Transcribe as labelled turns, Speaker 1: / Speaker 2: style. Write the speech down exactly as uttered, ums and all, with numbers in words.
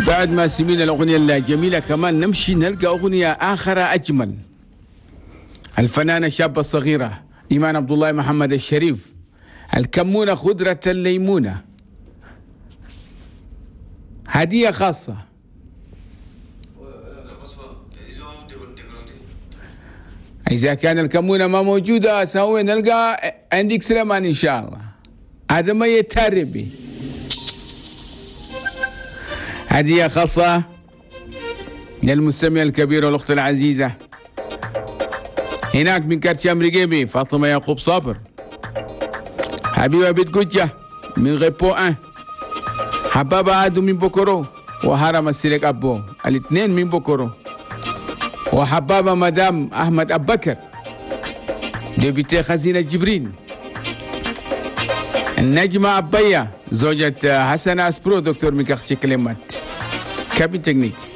Speaker 1: بعد ما سمعنا الأغنية الجميلة كمان نمشي نلقى أغنية آخرى أجمل. الفنانة الشابة الصغيرة إيمان عبد الله محمد الشريف، الكمونة خضرة الليمونة، هدية خاصة. إذا كان الكمونة ما موجودة سوي نلقى عندك سليمان إن شاء الله. هذا ما يتربي. هدية خاصة للمستمع الكبير والأخت العزيزة هناك من كرشام رقيبي، فاطمة يعقوب صابر، حبيبة بنت قجة من غيبو أن، حبابة آدو من بوكورو، وهرم السلك أبو الاثنين من بوكورو، وحبابة مدام أحمد أبكر député خزينة جبرين، النجمة أبية زوجة حسن أسبرو دكتور من quartier كلمات cabine technique.